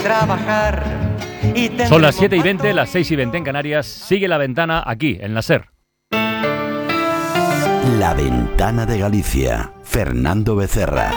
trabajar. Son las 7:20, las 6:20 en Canarias. Sigue La Ventana aquí, en la SER. La Ventana de Galicia. Fernando Becerra.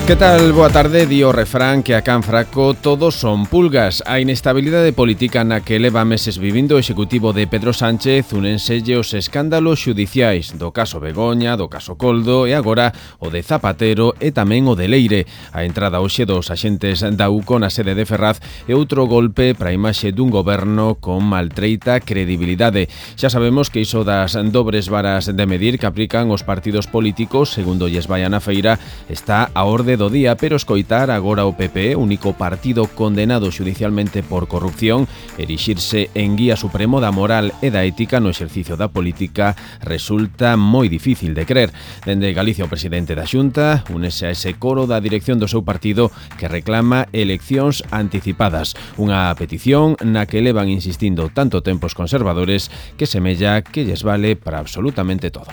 Que tal? Boa tarde. Di o refrán que a can fraco todos son pulgas. A inestabilidade política na que leva meses vivindo o executivo de Pedro Sánchez unenselle os escándalos xudiciais do caso Begoña, do caso Coldo e agora o de Zapatero e tamén o de Leire. A entrada hoxe dos axentes da UCO na sede de Ferraz é outro golpe para a imaxe dun goberno con maltreita credibilidade. Xa sabemos que iso das dobres varas de medir que aplican os partidos políticos, segundo lles vai na feira, está a orde do día, pero escoitar agora o PP, único partido condenado xudicialmente por corrupción, erixirse en guía supremo da moral e da ética no exercicio da política resulta moi difícil de crer. Dende Galicia o presidente da Xunta únese a ese coro da dirección do seu partido que reclama eleccións anticipadas, unha petición na que levan insistindo tanto tempo os conservadores que semella que lles vale para absolutamente todo.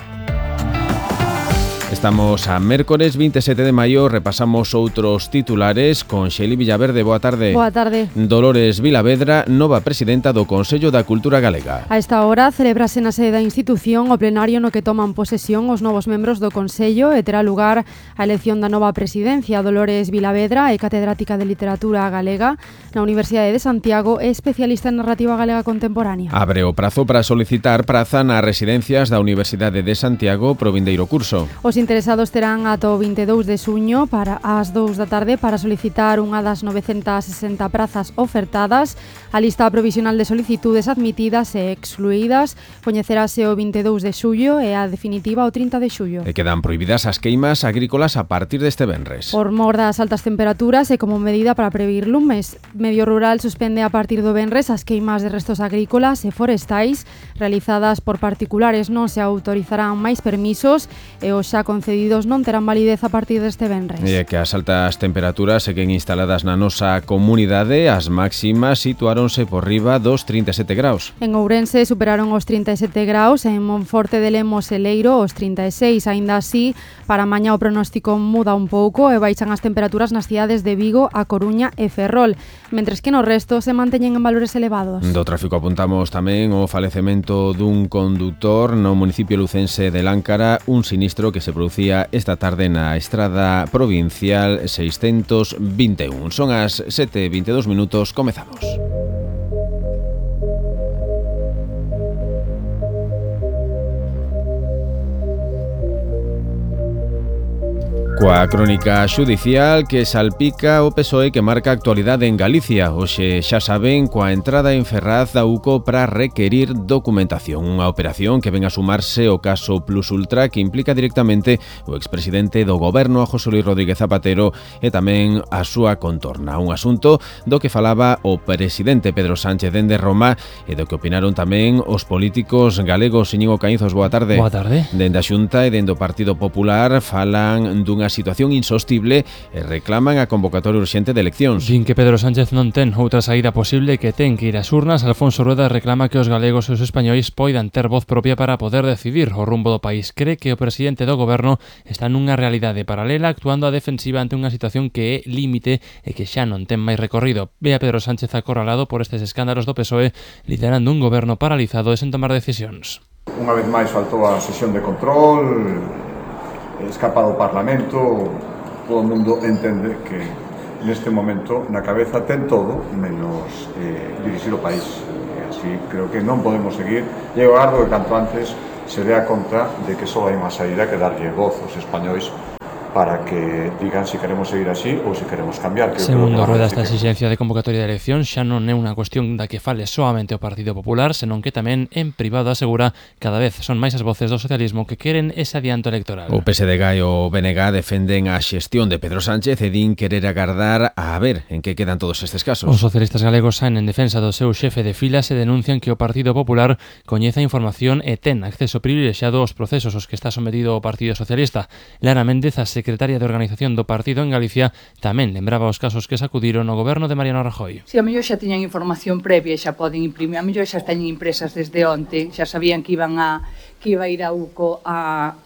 Estamos a mércores 27 de maio, repasamos outros titulares con Xeli Villaverde. Boa tarde. Boa tarde. Dolores Vilavedra, nova presidenta do Consello da Cultura Galega. A esta hora celebrase na sede da institución o plenario no que toman posesión os novos membros do Consello e terá lugar a elección da nova presidencia. Dolores Vilavedra é catedrática de Literatura Galega na Universidade de Santiago e especialista en narrativa galega contemporánea. Abre o prazo para solicitar praza nas residencias da Universidade de Santiago pro vindeiro curso. Os interesados terán ata o 22 de xuño para as 2 da tarde para solicitar unha das 960 prazas ofertadas. A lista provisional de solicitudes admitidas e excluídas coñecerase o 22 de xullo e a definitiva o 30 de xullo. E quedan prohibidas as queimas agrícolas a partir deste venres. Por mor das altas temperaturas e como medida para prevenir lumes, Medio Rural suspende a partir do venres as queimas de restos agrícolas e forestais realizadas por particulares. Non se autorizarán máis permisos e os xa concedidos non terán validez a partir deste venres. E que as altas temperaturas seguen instaladas na nosa comunidade, as máximas situáronse por riba dos 37 graus. En Ourense superaron os 37 graus, en Monforte de Lemos e Leiro os 36, aínda así, para mañá o pronóstico muda un pouco e baixan as temperaturas nas cidades de Vigo, A Coruña e Ferrol, mentres que no resto se manteñen en valores elevados. Do tráfico apuntamos tamén o falecemento dun condutor no municipio lucense de Láncara, un sinistro que se producía esta tarde na estrada provincial 621. Son as 7:22 minutos, comezamos. Coa crónica xudicial que salpica o PSOE que marca a actualidade en Galicia. Hoxe xa saben coa entrada en Ferraz da UCO para requerir documentación. Unha operación que ven a sumarse ao caso Plus Ultra que implica directamente o expresidente do goberno a José Luis Rodríguez Zapatero e tamén a súa contorna. Un asunto do que falaba o presidente Pedro Sánchez dende Roma e do que opinaron tamén os políticos galegos. Íñigo Caínzos, boa tarde. Boa tarde. Dende a Xunta e dende o Partido Popular falan dunha situación insostible e reclaman a convocatoria urxente de eleccións. Din que Pedro Sánchez non ten outra saída posible que ten que ir ás urnas. Alfonso Rueda reclama que os galegos e os españois poidan ter voz propia para poder decidir o rumbo do país. Cree que o presidente do goberno está nunha realidade paralela actuando a defensiva ante unha situación que é límite e que xa non ten máis recorrido. Ve a Pedro Sánchez acorralado por estes escándalos do PSOE liderando un goberno paralizado e sen tomar decisións. Unha vez máis faltou a sesión de control, escapa do Parlamento, todo o mundo entende que neste momento na cabeza ten todo menos dirixir o país. Así creo que non podemos seguir e eu agardo que canto antes se dé a conta de que só hai unha saída que darlle voz aos españois para que digan se queremos seguir así ou se queremos cambiar. Segundo Rueda, esta exigencia de convocatoria de elección xa non é unha cuestión da que fale soamente o Partido Popular, senón que tamén en privado asegura cada vez son máis as voces do socialismo que queren ese adianto electoral. O PSDG e o BNG defenden a xestión de Pedro Sánchez e din querer agardar a ver en que quedan todos estes casos. Os socialistas galegos saen en defensa do seu xefe de filas e denuncian que o Partido Popular coñece a información e ten acceso privilexiado aos procesos aos que está sometido o Partido Socialista. Lara Méndez asegura secretaria de Organización do partido en Galicia, tamén lembraba os casos que sacudiron o goberno de Mariano Rajoy. Si a mellor xa tiñan información previa, xa poden imprimir, a mellor xa teñen impresas desde onte, xa sabían que iba a ir a UCO a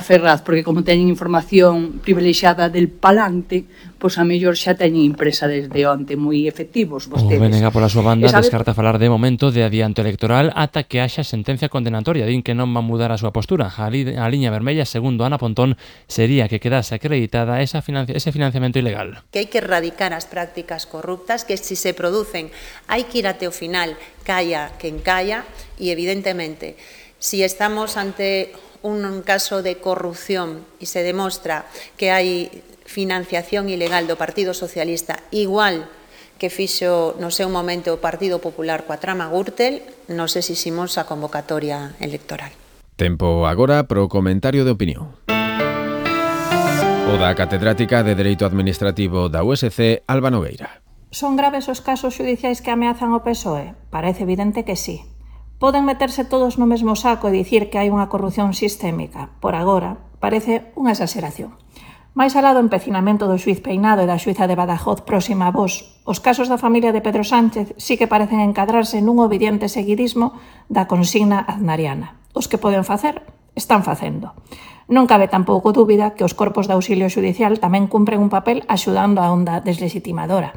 Ferraz, porque como teñen información privilexiada del palante, pois a mellor xa teñen impresa desde onte, moi efectivos vostedes. O BNG pola súa banda descarta falar de momento de adianto electoral ata que haxa sentencia condenatoria. Din que non va a mudar a súa postura. A liña vermella, segundo Ana Pontón, sería que quedase acreditada ese financiamento ilegal. Que hai que erradicar as prácticas corruptas, que se se producen hai que ir até o final, calla quen calla, e evidentemente, si estamos ante un caso de corrupción e se demostra que hai financiación ilegal do Partido Socialista igual que fixo no seu momento o Partido Popular coa trama Gürtel, non sei se ximos a convocatoria electoral. Tempo agora pro comentario de opinión. O da catedrática de Dereito Administrativo da USC, Alba Nogueira. Son graves os casos xudiciais que ameazan o PSOE? Parece evidente que sí. Poden meterse todos no mesmo saco e dicir que hai unha corrupción sistémica. Por agora, parece unha exageración. Mais alá do empecinamento do xuiz Peinado e da xuiza de Badajoz próxima a vos, os casos da familia de Pedro Sánchez sí que parecen encadrarse nun obediente seguidismo da consigna aznariana. Os que poden facer, están facendo. Non cabe tampouco dúbida que os corpos de auxilio xudicial tamén cumpren un papel axudando a onda deslegitimadora.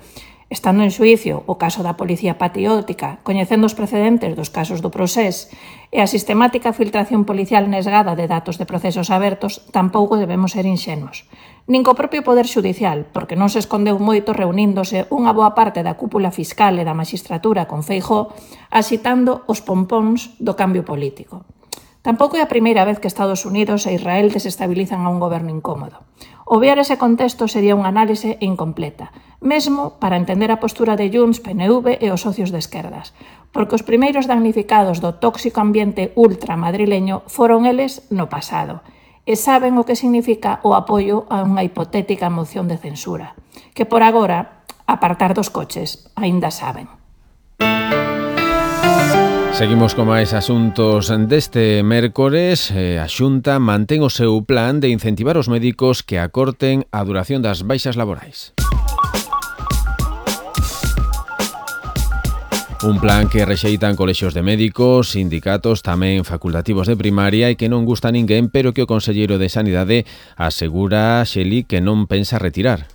Estando en xuicio o caso da policía patriótica, coñecendo os precedentes dos casos do Procés e a sistemática filtración policial nesgada de datos de procesos abertos, tampouco debemos ser inxenuos. Nin co propio Poder Xudicial, porque non se escondeu moito reuníndose unha boa parte da cúpula fiscal e da maxistratura con Feijóo, axitando os pompóns do cambio político. Tampouco é a primeira vez que Estados Unidos e Israel desestabilizan a un goberno incómodo. Obviar ese contexto sería unha análise incompleta, mesmo para entender a postura de Junts, PNV e os socios de esquerdas, porque os primeiros damnificados do tóxico ambiente ultramadrileño foron eles no pasado, e saben o que significa o apoio a unha hipotética moción de censura, que por agora, apartar dos coches, aínda saben. Seguimos con máis asuntos deste mércores. A Xunta mantén o seu plan de incentivar os médicos que acorten a duración das baixas laborais. Un plan que rexeitan colexios de médicos, sindicatos, tamén facultativos de primaria e que non gusta a ninguén, pero que o conselleiro de Sanidade asegura, Xeli, que non pensa retirar.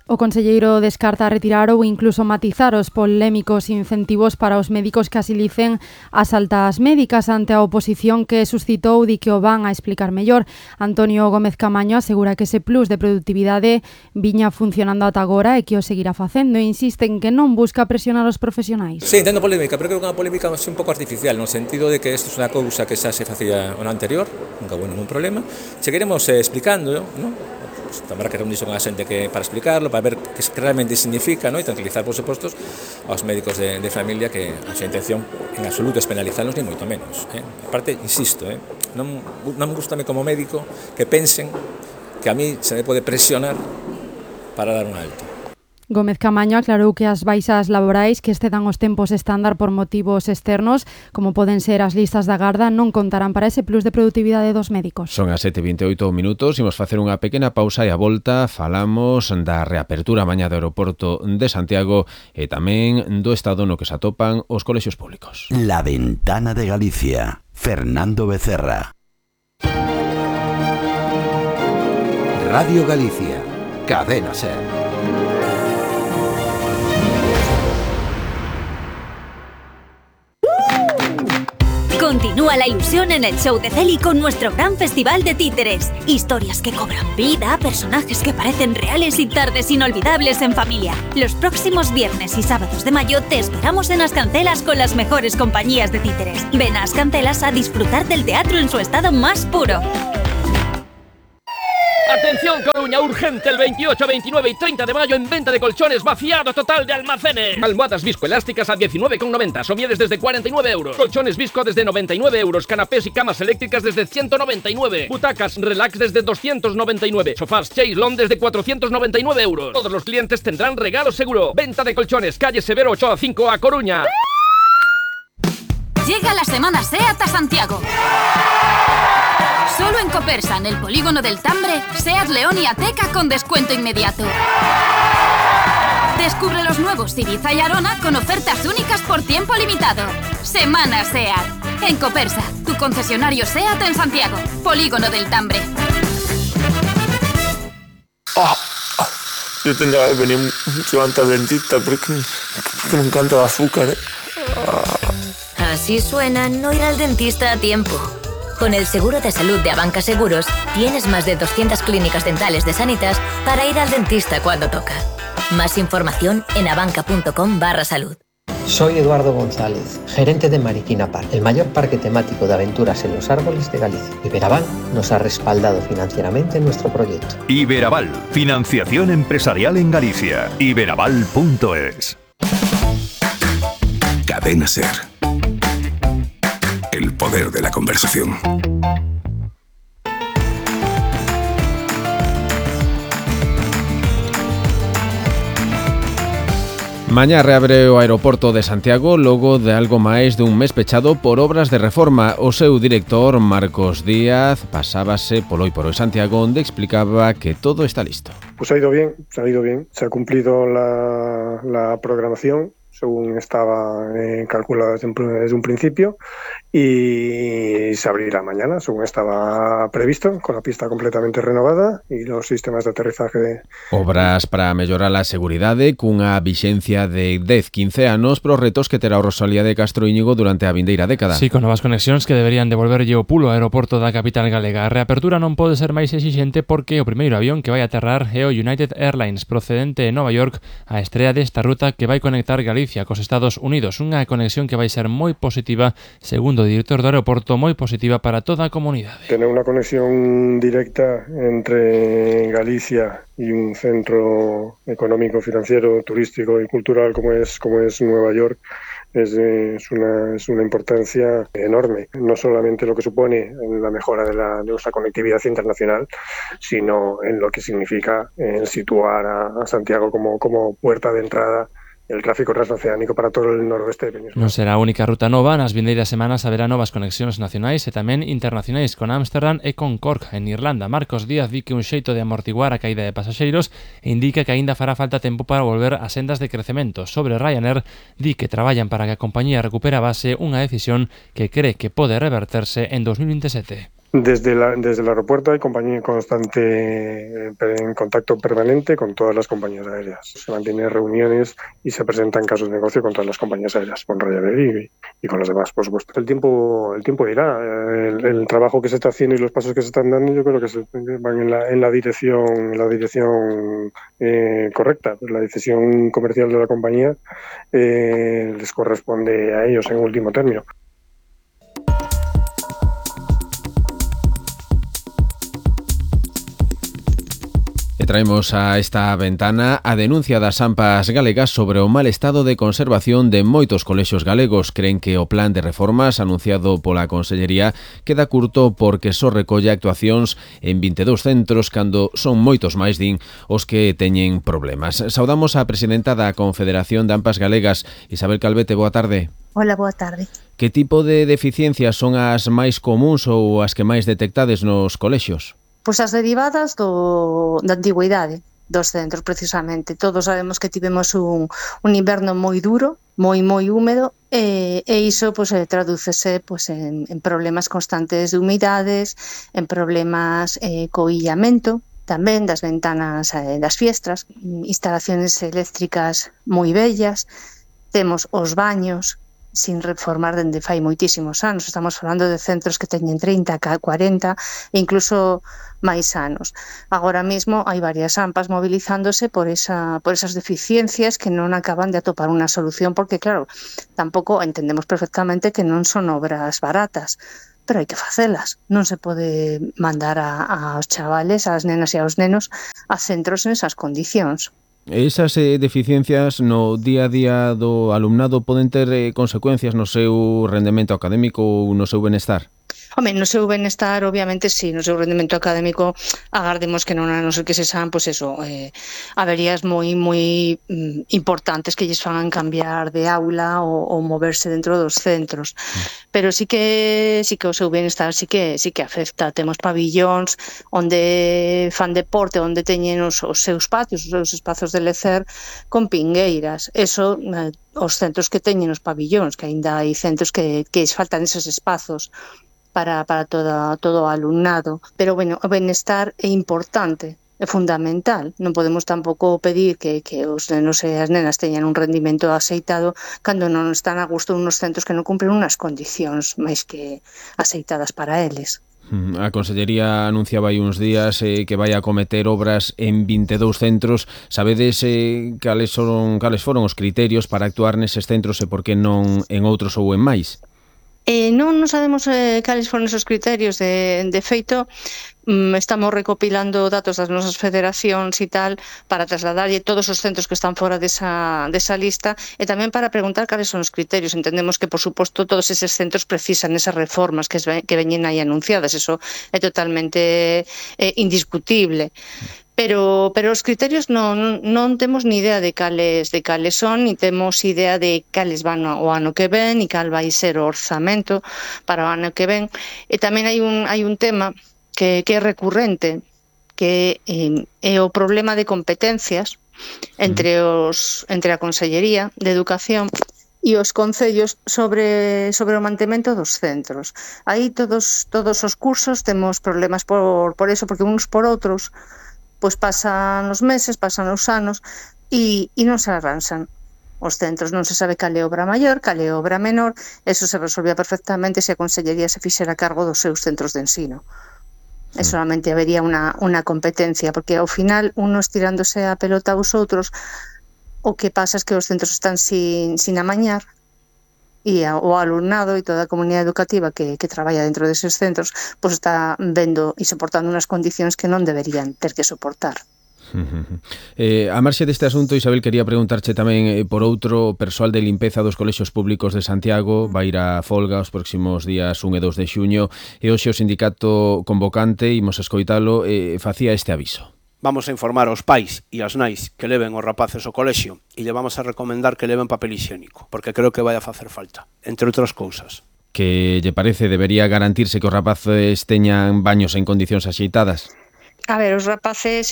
O conselleiro descarta retirar ou incluso matizar os polémicos incentivos para os médicos que asilicen as altas médicas ante a oposición que suscitou di que o van a explicar mellor. Antonio Gómez Camaño asegura que ese plus de productividade viña funcionando ata agora e que o seguirá facendo e insiste en que non busca presionar os profesionais. Sí, entendo polémica, pero creo que é unha polémica un pouco artificial, no sentido de que isto é unha cousa que xa se facía no anterior, nunca houve ningún problema. Seguiremos explicando, non? Pues, habrá que reunirse con a xente que para explicarlo, para ver que realmente significa, ¿no? E tranquilizar, por suposto, aos médicos de familia que a súa intención en absoluto es penalizarlos, ni moito menos. Aparte, insisto, non me gusta como médico que pensen que a mí se me pode presionar para dar un alto. Gómez Camaño aclarou que as baixas laborais que excedan os tempos estándar por motivos externos, como poden ser as listas da garda, non contarán para ese plus de productividade dos médicos. Son as 7:28 minutos, imos facer unha pequena pausa e a volta falamos da reapertura mañá do aeroporto de Santiago e tamén do estado no que se atopan os colexios públicos. La Ventana de Galicia, Fernando Becerra. Radio Galicia, Cadena Ser. Continúa la ilusión en el show de Celi con nuestro gran festival de títeres. Historias que cobran vida, personajes que parecen reales y tardes inolvidables en familia. Los próximos viernes y sábados de mayo te esperamos en Ascancelas con las mejores compañías de títeres. Ven a Ascancelas a disfrutar del teatro en su estado más puro. Atención Coruña, urgente, el 28, 29 y 30 de mayo en venta de colchones, vaciado total de almacenes. Almohadas viscoelásticas a 19,90, somiedes desde 49 euros. Colchones visco desde 99 euros, canapés y camas eléctricas desde 199. Butacas relax desde 299. Sofás Chaislon desde 499 euros. Todos los clientes tendrán regalo seguro. Venta de colchones, calle Severo 8A5 a Coruña. Llega la semana SEAT a Santiago. Solo en Copersa, en el polígono del Tambre, SEAT León y Ateca con descuento inmediato. Descubre los nuevos Ibiza y Arona con ofertas únicas por tiempo limitado. Semana SEAT. En Copersa, tu concesionario SEAT en Santiago, polígono del Tambre. Yo tendría que venir mucho antes al dentista porque me encanta el azúcar. Así suena no ir al dentista a tiempo. Con el seguro de salud de Abanca Seguros, tienes más de 200 clínicas dentales de Sanitas para ir al dentista cuando toca. Más información en abanca.com/salud. Soy Eduardo González, gerente de Mariquina Park, el mayor parque temático de aventuras en los árboles de Galicia. Iberaval nos ha respaldado financieramente en nuestro proyecto. Iberaval, financiación empresarial en Galicia. Iberaval.es. Cadena SER. El poder de la conversación. Mañá reabre o aeroporto de Santiago logo de algo máis dun mes pechado por obras de reforma. O seu director, Marcos Díaz, pasábase polo Santiago, onde explicaba que todo está listo. Pues ha ido bien, se ha cumplido la programación según estaba calculada desde un principio y se abrirá mañana, según estaba previsto, con la pista completamente renovada y los sistemas de aterrizaje. Obras para mellorar a seguridade cunha vixencia de 10-15 anos pros retos que terá o Rosalía de Castro Íñigo durante a vindeira década. Sí, con novas conexións que deberían devolverlle o pulo ao aeroporto da capital galega. A reapertura non pode ser máis exixente porque o primeiro avión que vai aterrar é o United Airlines procedente de Nova York, a estrea desta ruta que vai conectar Galicia cos Estados Unidos, unha conexión que vai ser moi positiva, segundo o director do aeroporto, moi positiva para toda a comunidade. Tener una conexión directa entre Galicia y un centro económico, financiero, turístico y cultural como es Nueva York es una importancia enorme, no solamente lo que supone en la mejora de nuestra conectividad internacional, sino en lo que significa situar a Santiago como puerta de entrada el tráfico transoceánico para todo el noroeste de Península. Non será a única ruta nova, nas vindeiras semanas haberá novas conexións nacionais e tamén internacionais con Ámsterdam e con Cork, en Irlanda. Marcos Díaz di que un xeito de amortiguar a caída de pasaxeiros e indica que aínda fará falta tempo para volver a sendas de crecemento. Sobre Ryanair, di que traballan para que a compañía recupere a base, unha decisión que cree que pode reverterse en 2027. Desde el aeropuerto hay compañía constante en contacto permanente con todas las compañías aéreas. Se mantienen reuniones y se presentan casos de negocio con todas las compañías aéreas, con Ryanair y con las demás, por supuesto. El tiempo dirá. El trabajo que se está haciendo y los pasos que se están dando, yo creo que van en la dirección correcta. La decisión comercial de la compañía les corresponde a ellos en último término. Traemos a esta ventana a denuncia das AMPAs galegas sobre o mal estado de conservación de moitos colexios galegos. Creen que o plan de reformas anunciado pola Consellería queda curto porque só recolle actuacións en 22 centros cando son moitos máis, din, os que teñen problemas. Saudamos a presidenta da Confederación de AMPAs Galegas, Isabel Calvete, boa tarde. Hola, boa tarde. Que tipo de deficiencias son as máis comuns ou as que máis detectades nos colexios? Pois as derivadas da antigüidade dos centros, precisamente. Todos sabemos que tivemos un inverno moi duro, moi húmedo, e iso tradúcese en problemas constantes de humidades, en problemas co illamento, tamén das ventanas das fiestras, instalaciones eléctricas moi bellas, temos os baños sin reformar dende fai moitísimos anos. Estamos falando de centros que teñen 30, 40 e incluso máis anos. Agora mesmo hai varias AMPAs movilizándose por esas deficiencias que non acaban de atopar unha solución, porque claro, tampouco entendemos perfectamente que non son obras baratas, pero hai que facelas. Non se pode mandar aos chavales, ás nenas e aos nenos a centros en esas condicións. Esas deficiencias no día a día do alumnado poden ter consecuencias no seu rendemento académico ou no seu benestar? Home, no seu benestar, obviamente, sí, no seu rendimento académico, agardemos que non, a non ser que se sean, pois eso, averías moi importantes que lles fagan cambiar de aula ou moverse dentro dos centros. Pero sí que o seu benestar sí que afecta. Temos pabillóns onde fan deporte, onde teñen os seus patios, os seus espazos de lecer con pingueiras. Eso, os centros que teñen os pabillóns, que aínda hai centros que faltan esos espazos para todo o alumnado. Pero, bueno, o benestar é importante, é fundamental. Non podemos tampouco pedir que os nenos e as nenas teñan un rendimento aceitado cando non están a gusto unos centros que non cumpren unas condicións máis que aceitadas para eles. A Consellería anunciaba hai uns días que vai acometer obras en 22 centros. Sabedes cales foron os criterios para actuar neses centros e por que non en outros ou en máis? Non sabemos cales foron esos criterios. De feito, estamos recopilando datos das nosas federacións e tal para trasladarlle todos os centros que están fora desa lista e tamén para preguntar cales son os criterios. Entendemos que, por suposto, todos eses centros precisan esas reformas que veñen aí anunciadas. Eso é totalmente indiscutible. Pero os criterios non temos ni idea de cales son, ni temos idea de cales van o ano que ven, ni cal vai ser o orzamento para o ano que ven. E tamén hai un tema que é recurrente, que é o problema de competencias entre a Consellería de Educación e os concellos sobre o mantemento dos centros. Aí todos os cursos temos problemas por eso, porque uns por outros pois pasan os meses, pasan os anos e non se arranxan os centros. Non se sabe cal é a obra maior, cal é a obra menor. Eso se resolvía perfectamente se a Consellería se fixera cargo dos seus centros de ensino. E solamente habería unha competencia, porque ao final, unos tirándose a pelota aos outros, o que pasa é que os centros están sin amañar, e o alumnado e toda a comunidade educativa que traballa dentro deses centros pois está vendo e soportando unhas condicións que non deberían ter que soportar. A marxe deste asunto, Isabel, quería preguntarche tamén por outro. Persoal de limpeza dos colexios públicos de Santiago vai ir a folga os próximos días 1 e 2 de xuño e hoxe o sindicato convocante, imos escoitalo, facía este aviso. Vamos a informar aos pais e ás nais que leven os rapaces ao colexio e lle vamos a recomendar que leven papel higiénico, porque creo que vai a facer falta, entre outras cousas. Que lle parece debería garantirse que os rapaces teñan baños en condicións axeitadas? A ver, os rapaces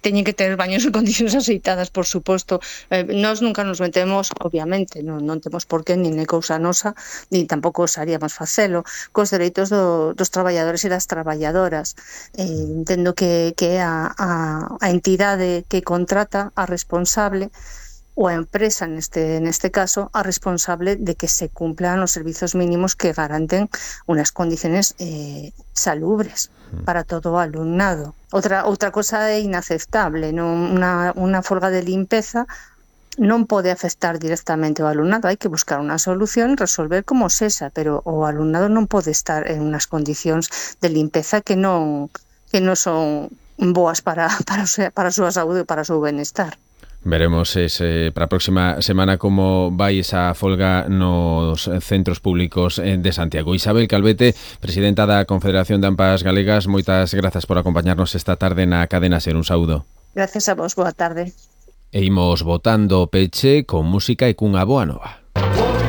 teñen que ter baños en condicións aceitadas, por suposto. Nós nunca nos metemos, obviamente, non temos por qué, nin é cousa nosa, nin tampouco osaríamos facelo, cos dereitos dos traballadores e das traballadoras. Entendo que é a entidade que contrata a responsable, ou a empresa, neste caso, a responsable de que se cumplan os servizos mínimos que garanten unas condiciones salubres para todo o alumnado. Outra cosa é inaceptable, unha folga de limpeza non pode afectar directamente ao alumnado, hai que buscar unha solución e resolver como sexa, pero o alumnado non pode estar en unhas condicións de limpeza que non son boas para a súa saúde e para o seu benestar. Veremos para a próxima semana como vai esa folga nos centros públicos de Santiago. Isabel Calvete, presidenta da Confederación de AMPAs Galegas, moitas grazas por acompañarnos esta tarde na Cadena Ser. Un saúdo. Gracias a vos, boa tarde. E imos botando peche con música e cunha boa nova.